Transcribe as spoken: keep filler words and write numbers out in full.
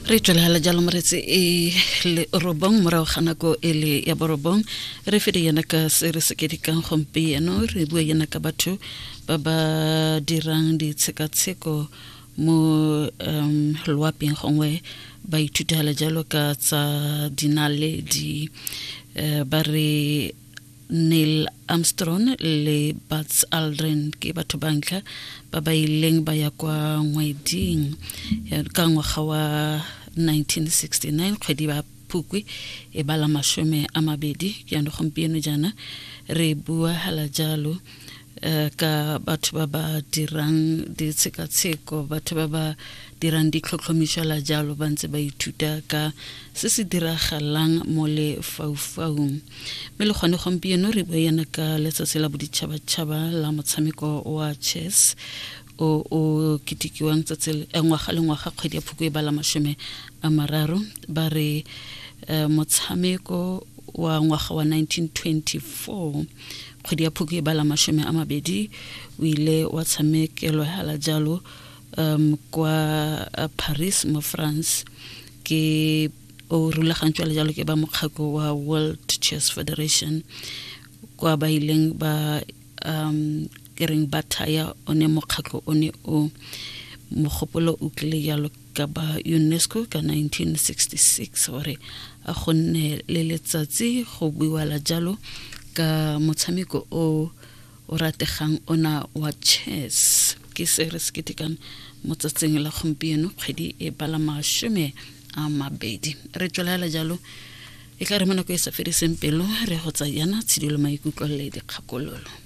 Re tswelela jalo moretsi e le robong morago ga nako e le ya borobong. Re fede yana ka se re se kedikang gompieno, re bua yana ka batho ba ba dirang ditshekatsheko mo um loaping, gongwe ba ithutela jalo ka tsa dinaledi. um ba re Neil Armstrong le Buzz Aldrin ke batho ba ntlha ba ba ileng ba ya kwa ngweding ka ngwaga wa nineteen sixty-nine, kgwedi ba Phukwi e bala mashome a mabedi. Ke yanong gompieno jaana re bua hala jalo eh, ka batho ba ba dirang ditshekatsheko, batho ba ba dirang ditlhotlhomišo la jalo, ba ntse ba ithuta ka se se diragalang mo lefaufaung. Mme le gone gompieno re bua yana ka letsatsi la boditšhabatšhaba la motshameko wa chess o o ketekiwang tsatsi ngwaga le ngwaga kgwedi ya Phukwi e bala mashome a mararo. Ba re eh, motshameko wa ngwaga wa nineteen twenty-four kgwedi ya Phukwi e bala mashome a mabedi o ile wa tshamekelwa hala jalo um kwa Paris mo France, ke o rulagantswe le jalo ke ba mokgatlo wa World Chess Federation, kwa ba ileng ba um ke reng ba thaya one mokgatlo one o. Mogopolo o tlile jalo ka ba UNESCO ka nineteen sixty-six gore a go nne le letsatsi go buiwa la jalo ka motshameko o o rategang ona wa chess. Ke se re se ketekang mo tsatsing la gompieno kgwedi e bala mashome a mabedi. Re tswelela jalo e tla re mo nako e sa fediseng pelo re go tsayana tshidilo maikutlo le dikgakololo.